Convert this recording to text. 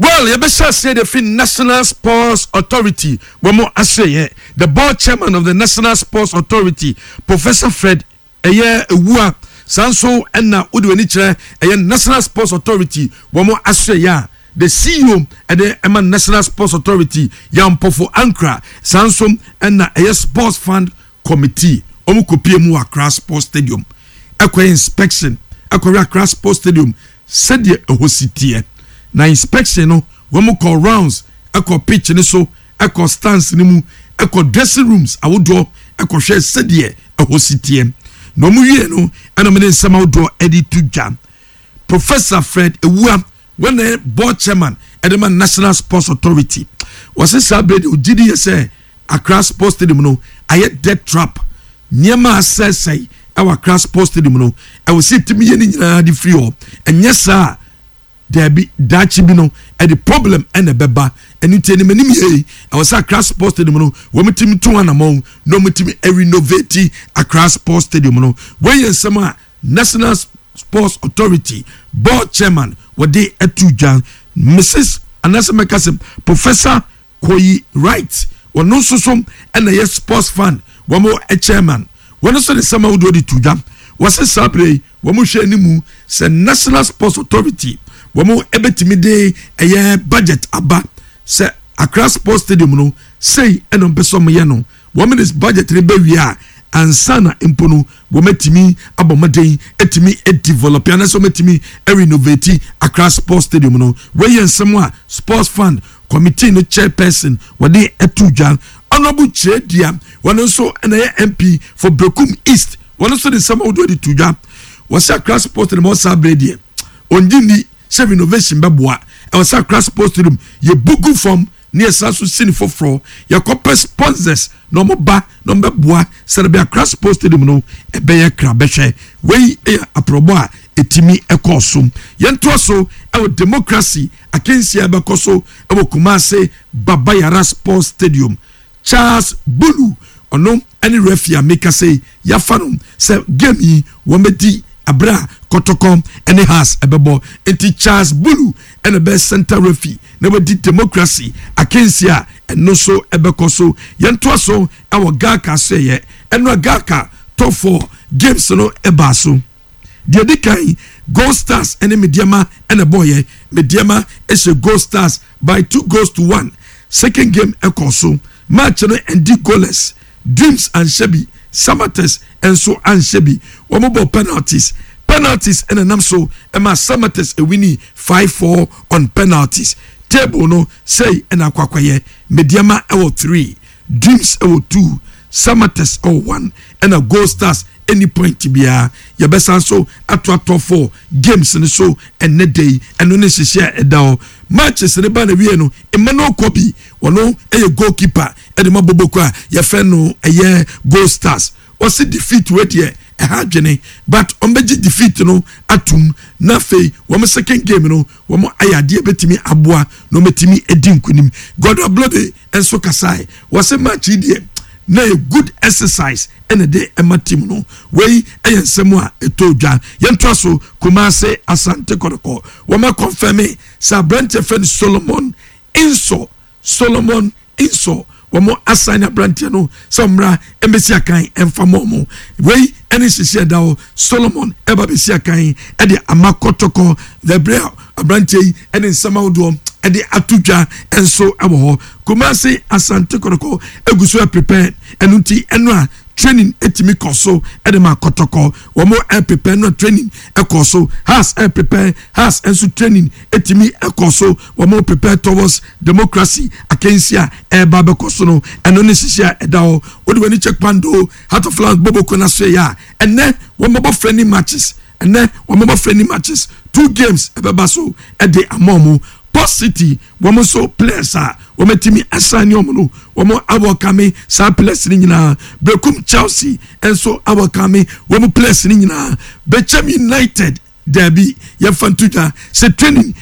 Well, yɛbɛhyɛ aseɛ de fi National Sports Authority wɔn ahyɛeɛ. The board chairman of the National Sports Authority, Professor Fred ɛyɛ Ewua, saa nso ɛna wode w'ani kyerɛ ɛyɛ National Sports Authority wɔn ahyɛeɛ a, the CEO ɛde ɛma National Sports Authority, Yampɔfo Ankra, saa nso ɛna ɛyɛ Sports Fund Committee, wɔn kɔpie mu wɔ Accra Sports Stadium ɛkɔyɛ inspection, ɛkɔyɛ Accra Sports Stadium sɛdeɛ ɛhɔ si teɛ. Na inspection no, wɔn kɔ rounds, ɛkɔ pitch ne so, ɛkɔ stands ne mu, ɛkɔ dressing rooms ahodoɔ, ɛkɔhwɛ sɛdeɛ ɛhɔ si teɛ. Na wɔn wie no, ɛna wɔn de nsɛm ahodoɔ ɛde to dwa. Professor Fred Ewua, wɔn na board chairman ɛde ma National Sports Authority, wɔsi saa abere de ogyi di yɛ sɛ Accra Sports Stadium no ayɛ death trap. Nneɛma asɛesɛe ɛwɔ Accra Sports Stadium no, ɛwɔ sɛ timi yɛ ne nyinaa de firi hɔ. Ɛnyɛ saa, daabi, daakye bi no ɛde problem ɛna ɛbɛba. Ɛno nti anim anim yie, ɛwɔ sɛ Accra Sports Stadium no wɔn timi to anamɔn na wɔn timi renovate Accra Sports Stadium no. Wɔyɛ nsɛm a National Sports Authority board chairman wɔde ɛto dwa. Mrs anaasɛ mɛka sɛ Professor Koyi Wright, wɔn nso so ɛna yɛ Sports Fund wɔn chairman, wɔn nso de nsɛm ahodoɔ de to dwa. Wɔsɛ saa bere yi wɔn hwɛ anim sɛ National Sports Authority wɔn bɛtumi de ɛyɛ budget aba sɛ Accra Sports Stadium no sei ɛna mpɛ sɛ wɔn yɛ no. Wɔn de budget no bɛwie a, ansa na mpo no wɔn atumi abɔ mmɔden atumi develop anaasɛ wɔn atumi renovate Accra Sports Stadium no. Wɔyɛ nsɛm a Sports Fund Committee no chairperson wɔde ato dwa. Honourable Kyerɛdua, wɔn nso ɛna yɛ MP for Berekum East, wɔn nso de nsɛm ahodoɔ de to dwa. Wɔsɛ Accra Sports Stadium ɔsaa abere deɛ, ɔngye ni sɛ renovation bɛboa. Ɛwɔ sɛ Accra Sports Stadium yɛ bugu fam ne yɛsan so si ne foforɔ, yɛkɔpɛ sponsors na wɔn ba na wɔn bɛboa sɛdeɛ bɛ Accra Sports Stadium no ɛbɛyɛ kra bɛhwɛ. Wei yɛ aprɔbɔ a ɛtumi ɛkɔɔ so. Yɛntoa so ɛwɔ Democracy akansia ɛbɛkɔ so ɛwɔ Kumase Baba Yara Sports Stadium. Charles Bulu, ɔno ɛne referee a meka sɛ yafa no sɛ game yi wɔn bɛdi abere a Kɔtɔkɔ ɛne Hearts ɛbɛbɔ. Nti Charles Bulu ɛna bɛ center referee na wɔdi Democracy akansi a ɛno nso ɛbɛkɔ so. Yɛntoa so ɛwɔ GHALCA so. Yɛ ɛno a GHALCA top four games no ɛbaa so. Deɛ di kan, Gold Stars ɛne Medeama ɛna ɛbɔɔyɛ. Medeama ɛhyɛ Gold Stars by 2 goals to 1. Second game ɛkɔ so, match no ɛndi goalless. Dreams anhyɛ bi, Samartex nso anhyɛ bi. Wɔn bɔ penalties, penalties ɛna nam so ɛma Samartex ewin 5-4 on penalties. Table no sɛyi ɛna akɔ akɔyɛ: Medeama ɛwɔ three, Dreams ɛwɔ two, Samartex ɛwɔ one, ɛna Gold Stars any point biara. Yɛbɛsan so ato atɔ four games no so ɛnɛ da yi. Ɛno ne hyehyɛ a ɛda hɔ. Matches ne ba na wie no, Emmanuel Kobi, ɔno ɛyɛ goalkeeper ɛde ma boboko a yɛfrɛ no ɛyɛ Gold Stars, ɔsi defeat wei deɛ ɛha adwene, but ɔmbɛgye defeat no atum na afei wɔn second game no wɔn ayɛ adeɛ bɛtumi aboa na wɔn adi nkunim. Godwin Ablode nso kasae, wɔsɛ match yi deɛ na yɛ good exercise ɛna de ɛma team no. Wei ɛyɛ nsɛm a ɛtɔ dwa. Yɛntoa so. Kumase Asante Kɔtɔkɔ, wɔn aconfirm sɛ aberanteɛ fɛ no Solomon Nso, Solomon Nso, wɔn asan aberanteɛ no sɛ ɔmmra mbɛsi akan ɛmfa mɔ ɔmo. Wei ɛne nhyehyɛ ɛda hɔ. Solomon ɛba bɛsi akan ɛde ama Kɔtɔkɔ. Dɛbrɛ a aberanteɛ yi ɛne nsɛm ahodoɔ ɛde ato dwa ɛnso ɛwɔ hɔ. Kumase Asante Kɔtɔkɔ egu so ɛprepare, ɛno nti ɛno a training etimi kɔ so ɛde ma Kɔtɔkɔ. Wɔn ɛprepare no a training ɛkɔ so. Hearts ɛprepare, Hearts nso training etimi ɛkɔ so. Wɔn prepare towards Democracy akansi a ɛreba abɛkɔ so no. Ɛno ne hyehyɛ a ɛda hɔ. Wode w'ani kyɛ Kpando Heart of Lions boboko no so yɛ a, ɛnɛ wɔn bɛbɔ friendly matches. Ɛnɛ wɔn bɛbɔ friendly matches, two games ɛbɛba so ɛde ama wɔn. Port City, wɔn nso players a wɔn atumi asan ne wɔn no, wɔn awɔkame saa players no nyinaa. Berekum Chelsea nso awɔkame wɔn players no nyinaa. Bechem United, daabi, yɛfa nto dwa sɛ training